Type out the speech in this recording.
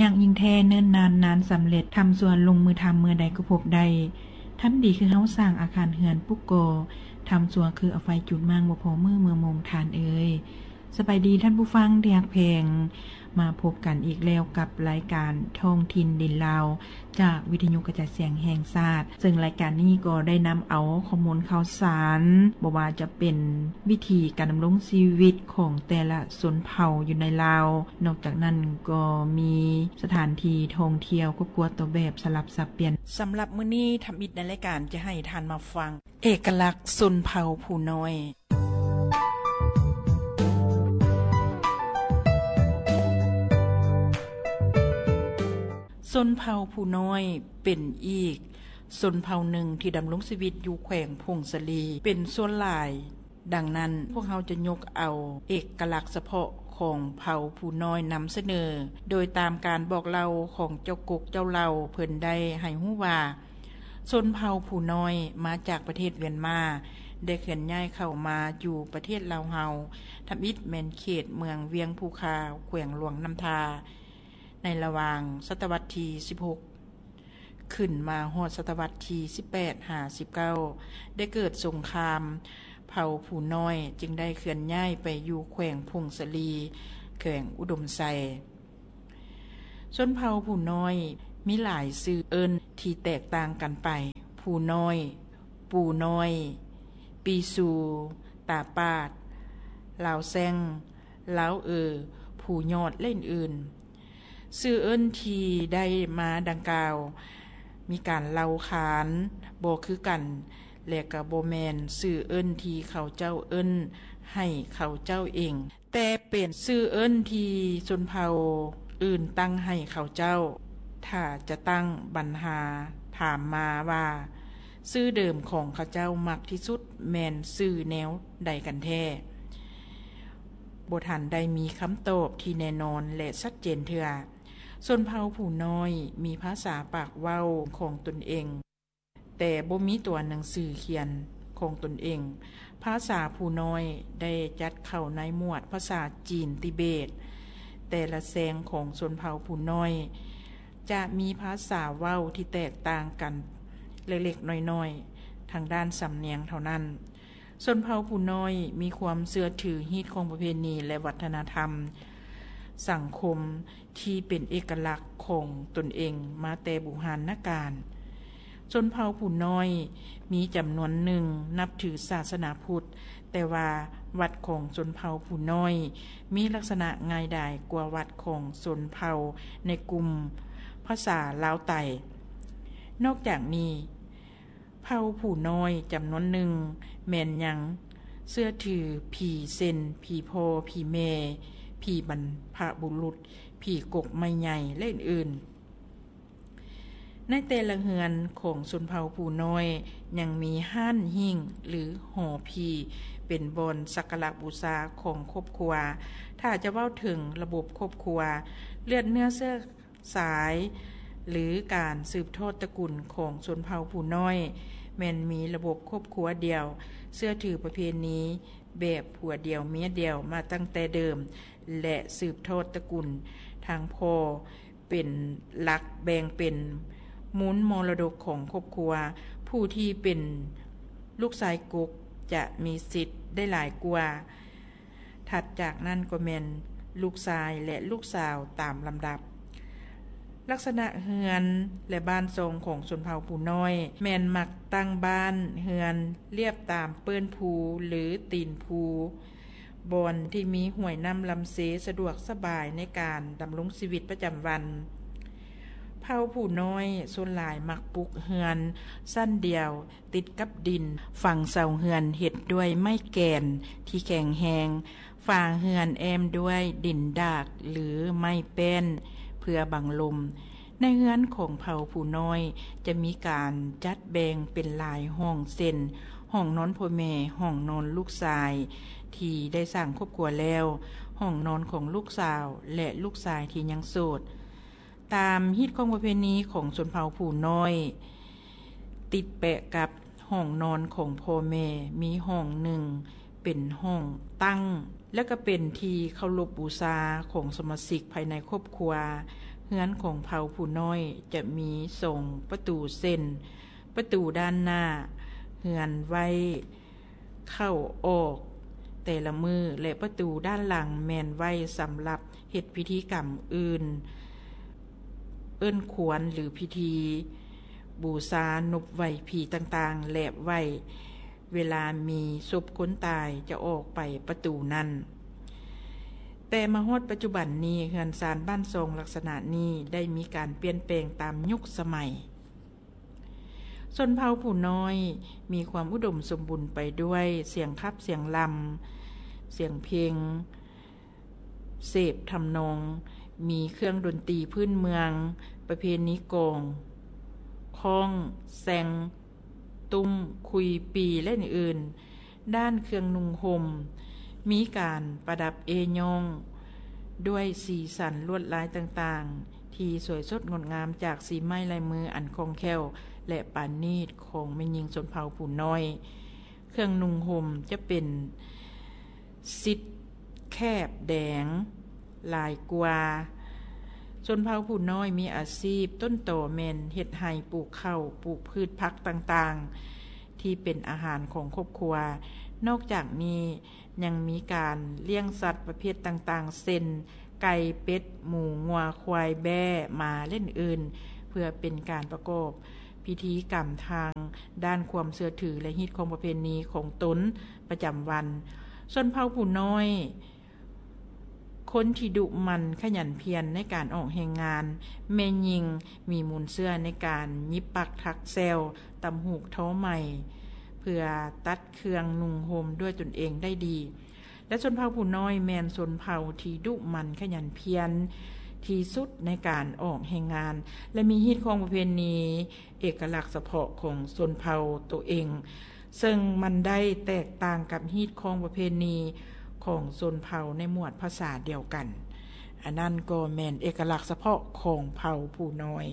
ຍາກຍິ່ງແທ້ເນີນນານນານສຳເລັດ ທຳຊົ່ວລົງມືທຳເມື່ອໃດກໍພົບໄດ້ ທຳດີຄືເຮົາສ້າງອາຄານເຮືອນປຸກກໍ່ ທຳຊົ່ວຄືເອົາໄຟຈູດມ້າງບໍ່ພໍມື້ເມື່ອໂມງທ່ານເອີຍ. ສະບາຍດີທ່ານຜູ້ຟັງທີ່ຮັກແພງ ມາພົບກັນອີກແລ້ວກັບລາຍການທ້ອງຖິ່ນດິນລາວ ຈາກວິທະຍຸກະຈາຍສຽງແຫ່ງຊາດ ເຊິ່ງລາຍການນີ້ກໍໄດ້ນຳເອົາຂໍ້ມູນຂ່າວສານ ບໍ່ວ່າຈະເປັນວິຖີການດຳລົງຊີວິດຂອງແຕ່ລະຊົນເຜົ່າຢູ່ໃນລາວ, ນອກຈາກນັ້ນກໍມີສະຖານທີ່ທ່ອງທ່ຽວຄອບຄົວຕົວແບບສະຫຼັບສັບປ່ຽນ. ສຳລັບມື້ນີ້ ທຳອິດໃນລາຍການຈະໃຫ້ທ່ານມາຟັງເອກະລັກຊົນເຜົ່າຜູ້ນ້ອຍ. ຊົນເຜົ່າຜູ້ນ້ອຍເປັນອີກຊົນເຜົ່າໜຶ່ງທີ່ດຳລົງຊີວິດຢູ່ແຂວງຜົ້ງສາລີເປັນສ່ວນຫຼາຍ. ດັ່ງນັ້ນ, ພວກເຮົາຈະຍົກເອົາເອກະລັກສະເພາະຂອງເຜົ່າຜູ້ນ້ອຍນຳສະເໜີ ໂດຍຕາມການບອກເລົ່າຂອງເຈົ້າກົກເຈົ້າເຫຼົ່າ. ເພິ່ນໄດ້ໃຫ້ຮູ້ວ່າ ຊົນເຜົ່າຜູ້ນ້ອຍມາຈາກປະເທດວຽນມາ ໄດ້ເຄື່ອນຍ້າຍເຂົ້າມາຢູ່ປະເທດລາວເຮົາ, ທຳອິດແມ່ນເຂດເມືອງວຽງພູຄາ, ແຂວງຫຼວງນ້ຳທາ. ໃນລະຫວ່າງສະຕະວັດທີສິບຫົກ ຂຶ້ນມາຮອດສະຕະວັດທີສິບແປດຫາສິບເກົ້າ ໄດ້ເກີດສົງຄາມ, ເຜົ່າຜູ້ນ້ອຍຈຶ່ງໄດ້ເຄື່ອນຍ້າຍໄປຢູ່ແຂວງຜົ້ງສາລີ, ແຂວງອຸດົມໄຊ. ຊົນເຜົ່າຜູ້ນ້ອຍມີຫຼາຍຊື່ເອີ້ນທີ່ແຕກຕ່າງກັນໄປ, ຜູ້ນ້ອຍ, ປູນ້ອຍ, ປີຊູ, ຕາປາດ, ລາວແຊງ, ລາວເອີ, ພູຍອດ ແລະ ອື່ນໆ. ຊື່ເອີ້ນທີ່ໄດ້ມາດັ່ງກ່າວ ມີການເລົ່າຂານບໍ່ຄືກັນ ແລະ ກໍບໍ່ແມ່ນຊື່ເອີ້ນທີ່ເຂົາເຈົ້າເອີ້ນໃຫ້ເຂົາເຈົ້າເອງ, ແຕ່ເປັນຊື່ເອີ້ນທີ່ຊົນເຜົ່າອື່ນຕັ້ງໃຫ້ເຂົາເຈົ້າ. ຖ້າຈະຕັ້ງບັນຫາຖາມມາວ່າ ຊື່ເດີມຂອງເຂົາເຈົ້າມັກທີ່ສຸດແມ່ນຊື່ແນວໃດກັນແທ້? ບໍ່ທັນໄດ້ມີຄຳຕອບທີ່ແນ່ນອນ ແລະ ຊັດເຈນເທື່ອ. ຊົນເຜົ່າຜູ້ນ້ອຍມີພາສາປາກເວົ້າຂອງຕົນເອງ, ແຕ່ບໍ່ມີຕົວໜັງສືຂຽນຂອງຕົນເອງ. ພາສາຜູ້ນ້ອຍໄດ້ຈັດເຂົ້າໃນໝວດພາສາຈີນຕິເບດ. ແຕ່ລະແຊງຂອງຊົນເຜົ່າຜູ້ນ້ອຍ ຈະມີພາສາເວົ້າທີ່ແຕກຕ່າງກັນເລັກໆນ້ອຍໆ ທາງດ້ານສຳນຽງເທົ່ານັ້ນ. ຊົນເຜົ່າຜູ້ນ້ອຍມີຄວາມເຊື່ອຖືຮີດຄອງປະເພນີ ແລະ ວັດທະນະທຳສັງຄົມທີ່ເປັນເອກະລັກຂອງຕົນເອງມາແຕ່ບູຮານນະການ. ຊົນເຜົ່າຜູ້ນ້ອຍມີຈຳນວນໜຶ່ງນັບຖືສາສະໜາພຸດ, ແຕ່ວ່າວັດຂອງຊົນເຜົ່າຜູ້ນ້ອຍມີລັກສະນະງ່າຍດາຍກວ່າວັດຂອງຊົນເຜົ່າໃນກຸ່ມພາສາລາວໃຕ້. ນອກຈາກນີ້, ເຜົ່າຜູ້ນ້ອຍຈຳນວນໜຶ່ງແມ່ນຍັງເຊື່ອຖືຜີເຊັ່ນ ຜີພໍ່, ຜີແມ່, ຜີບັນພະບຸລຸດ, ຜີກົກໄມ້ໃຫຍ່ ແລະ ອື່ນໆ. ໃນແຕ່ລະເຮືອນຂອງຊົນເຜົ່າຜູ້ນ້ອຍຍັງມີຮ້ານຫິ້ງ ຫຼື ຫໍຜີ ເປັນບ່ອນສັກກາລະບູຊາຂອງຄອບຄົວ. ຖ້າຈະເວົ້າເຖິງລະບົບຄອບຄົວ, ເລືອດເນື້ອເຊື້ອ ສາຍ ຫຼື ການສືບທອດຕະກຸນຂອງຊົນເຜົ່າຜູ້ນ້ອຍ ແມ່ນມີລະບົບຄອບຄົວດຽວ, ເຊື່ອຖືປະເພນີແບບຜົວດຽວເມຍດຽວມາຕັ້ງແຕ່ເດີມ ແລະ ສືບທອດຕະກຸນທາງພໍ່ເປັນຫຼັກ, ແບ່ງເປັນມູນມໍລະດົກຂອງຄອບຄົວ. ຜູ້ທີ່ເປັນລູກຊາຍກົກຈະມີສິດໄດ້ຫຼາຍກວ່າ. ຖັດຈາກນັ້ນກໍແມ່ນລູກຊາຍ ແລະ ລູກສາວຕາມລຳດັບ. ລັກສະນະເຮືອນ ແລະ ບ້ານຊ່ອງຂອງຊົນເຜົ່າຜູ້ນ້ອຍ ແມ່ນມັກຕັ້ງບ້ານເຮືອນລຽບຕາມເປີ້ນພູ ຫຼື ຕີນພູ, ບ່ອນທີ່ມີຫ້ວຍນ້ຳລຳເຊສະດວກສະບາຍໃນການດຳລົງຊີວິດປະຈຳວັນ. ເຜົ່າຜູ້ນ້ອຍສ່ວນຫຼາຍມັກປຸກເຮືອນຊັ້ນດຽວ ຕິດກັບດິນ, ຝັ່ງເສົາເຮືອນເຮັດດ້ວຍໄມ້ແກນທີ່ແຂງແຮງ, ຝາເຮືອນແອ້ມດ້ວຍດິນດາກ ຫຼື ໄມ້ແປ້ນເພື່ອບັງລົມ. ໃນເຮືອນຂອງເຜົ່າຜູ້ນ້ອຍຈະມີການຈັດແບ່ງເປັນຫຼາຍຫ້ອງ ເຊັ່ນ ຫ້ອງນອນພໍ່ແມ່, ຫ້ອງນອນລູກຊາຍທີ່ໄດ້ສ້າງຄອບຄົວແລ້ວ, ຫ້ອງນອນຂອງລູກສາວ ແລະ ລູກຊາຍທີ່ຍັງໂສດ. ຕາມຮີດຄອງປະເພນີຂອງຊົນເຜົ່າຜູ້ນ້ອຍ ຕິດແປະກັບຫ້ອງນອນຂອງພໍ່ແມ່ ມີຫ້ອງໜຶ່ງເປັນຫ້ອງຕັ້ງ ແລະ ກໍເປັນທີ່ເຄົາລົບບູຊາຂອງສະມາຊິກພາຍໃນຄອບຄົວ. ເຮືອນຂອງເຜົ່າຜູ້ນ້ອຍຈະມີສອງປະຕູເຊັ່ນ ປະຕູດ້ານໜ້າເຮືອນໄວ້ເຂົ້າອອກແຕ່ລະມື້ ແລະ ປະຕູດ້ານຫຼັງແມ່ນໄວ້ສຳລັບເຮັດພິທີກຳອື່ນ ເອີ້ນຄວນ ຫຼື ພິທີບູຊານົບໄຫວ້ຜີຕ່າງໆ ແລະ ໄວ້ເວລາມີສົບຄົນຕາຍຈະອອກໄປປະຕູນັ້ນ. ແຕ່ມາຮອດປັດຈຸບັນນີ້ ເຮືອນຊານບ້ານຊ່ອງລັກສະນະນີ້ໄດ້ມີການປ່ຽນແປງຕາມຍຸກສະໄໝ. ຊົນເຜົ່າຜູ້ນ້ອຍມີຄວາມອຸດົມສົມບູນໄປດ້ວຍສຽງຂັບສຽງລຳ, ສຽງເພງ, ເສບທຳນອງ, ມີເຄື່ອງດົນຕີພື້ນເມືອງ, ປະເພນີກອງ, ຄ້ອງ, ແຊງ, ຕຸ້ມ, ຄຸຍ, ປີ ແລະ ອື່ນໆ. ດ້ານເຄື່ອງນຸ່ງຫົ່ມ ມີການປະດັບເອ້ຍ້ອງດ້ວຍສີສັນລວດລາຍຕ່າງໆ ທີ່ສວຍສົດງົດງາມຈາກສີໄມ້ລາຍມືອັນຄ່ອງແຄ້ວ ແລະ ປານີດຂອງແມ່ຍິງຊົນເຜົ່າຜູ້ນ້ອຍ. ເຄື່ອງນຸ່ງຫົ່ມຈະເປັນຊິດແຄບແດງຫຼາຍກວ່າ. ຊົນເຜົ່າຜູ້ນ້ອຍມີອາຊີບຕົ້ນຕໍແມ່ນເຮັດໄຮ່, ປູກເຂົ້າ, ປູກພືດຜັກຕ່າງໆ ທີ່ເປັນອາຫານຂອງຄອບຄົວ. ນອກຈາກນີ້ຍັງມີການລ້ຽງສັດປະເພດຕ່າງໆ ເຊັ່ນ ໄກ່, ເປັດ, ໝູ, ງົວ, ຄວາຍ, ແບ້, ໝາ ແລະ ອື່ນໆ ເພື່ອເປັນການປະກອບພິທີກຳທາງດ້ານຄວາມເຊື່ອຖື ແລະ ຮີດຄອງປະເພນີຂອງຕົນປະຈຳວັນ. ຊົນເຜົ່າຜູ້ນ້ອຍ ຄົນທີ່ດຸໝັ່ນຂະຫຍັນພຽນໃນການອອກແຮງງານ, ແມ່ຍິງມີມູນເຊື້ອໃນການຫຍິບປັກຖັກແຊວ, ຕຳຫູກ, ທໍໄໝ ເພື່ອຕັດເຄື່ອງນຸ່ງຫົ່ມດ້ວຍຕົນເອງໄດ້ດີ ແລະ ຊົນເຜົ່າຜູ້ນ້ອຍແມ່ນຊົນເຜົ່າທີ່ດຸໝັ່ນຂະຫຍັນພຽນທີ່ສຸດໃນການອອກແຮງງານ ແລະ ມີຮີດຄອງປະເພນີເອກະລັກສະເພາະຂອງຊົນເຜົ່າໂຕເອງ ເຊິ່ງມັນໄດ້ແຕກຕ່າງກັບຮີດຄອງປະເພນີຂອງຊົນເຜົ່າໃນໝວດພາສາດຽວກັນ. ອັນນັ້ນກໍແມ່ນເອກະລັກສະເພາະຂອງເຜົ່າຜູ້ນ້ອຍ.